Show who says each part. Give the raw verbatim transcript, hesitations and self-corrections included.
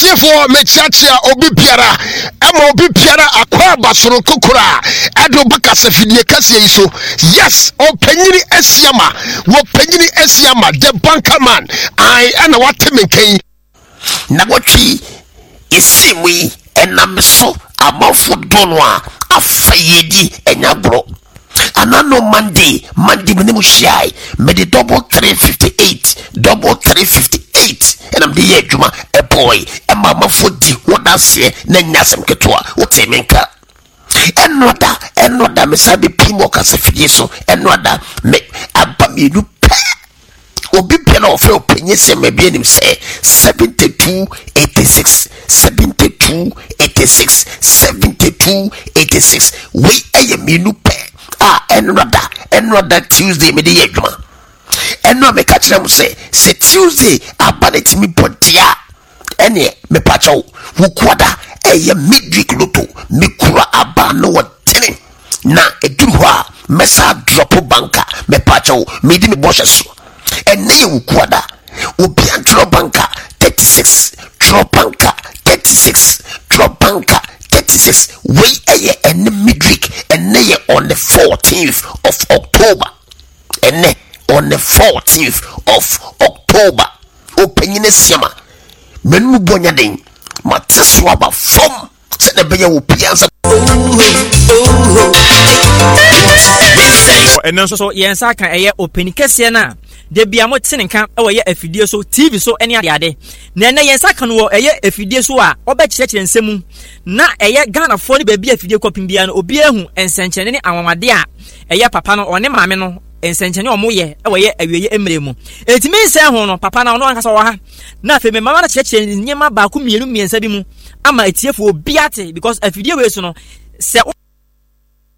Speaker 1: Atiefoɔ, mekyeakyea obi biara, ɛma obi biara akɔ aba soronko koraa ɛde woba kasafidie kɛseɛ yi so. Yes, ɔpanyini Asiama, wɔpanyini Asiama the banker man ae, ɛna wate me nka yi.
Speaker 2: Na wɔtwe yɛsii mu yi, ɛnam so amanfo dɔ no a afa yɛdi ɛnya agorɔ. Ana no Monday, Monday me ne mu hyiae, mede double three fifty eight, double three fifty eight ɛna mede yɛ adwuma ɛbɔe ɛma amanfo di ho danseɛ na nya asɛm ketewa. Wote me nka ɛno da, ɛno da mesa de pii mu ɔkasa fidie so. Ɛno da me aba mmienu pɛ, obi bia na ɔfrɛ ɔpanyin sɛ mɛbi anim sɛ seventy two eighty six, seventy two eighty six, seventy two eighty six. Wei ɛyɛ mmienu pɛ a ɛno da, ɛno da Tuesday mede yɛ adwuma. Ɛno a meka kyerɛ mo sɛ sɛ Tuesday aba ne tumi bɔ deɛ, ɛneɛ mepakyɛw wokuada ɛyɛ midweek lotto. Mekura aba no wɔ tene na ɛduru hɔ a mɛsa drop banka. Mepakyɛw, medi me bɔhyɛ so. Ɛnɛ yɛ wokuada, obia ntwerɛ banka thirty six, twerɛ banka thirty six, twerɛ banka thirty six. Wei ɛyɛ ɛne midweek. Ɛnɛ yɛ on the fourteenth of October. Ɛnɛ on the fourteenth of October, ɔpanyin Asiama mɛnum bɔ nya den mate so aba fam sɛdeɛ ɛbɛyɛ wɔ pia nsa.
Speaker 3: Ɛnɛ nso so yɛn nsa ka ɛyɛ ɔpanin kɛseɛ no a da bia mote ne nka ɛwɔ yɛ afidie so, T V so ne adeade. Na ɛnɛ yɛn nsa ka no wɔ ɛyɛ afidie so a ɔbɛkyerɛkyerɛ nsɛm mu na ɛyɛ Ghanafoɔ ne baabi a afidie kɔpem biara no obiara hu nsɛnkyerɛnne ne anwanwadeɛ a ɛyɛ papa no ɔne maame no nsɛnkyerɛnne a ɔmo ɛwɔ yɛ awieɛ mmerɛ mu. Ɛntumi nsɛn ho no, papa no ɔno ankasa wɔ ha na afei mɛmama no kyerɛkyerɛ nneɛma baako, mmienu, mmiɛnsa bi mu ama atiefoɔ obiara te, because afidie wei so no sɛ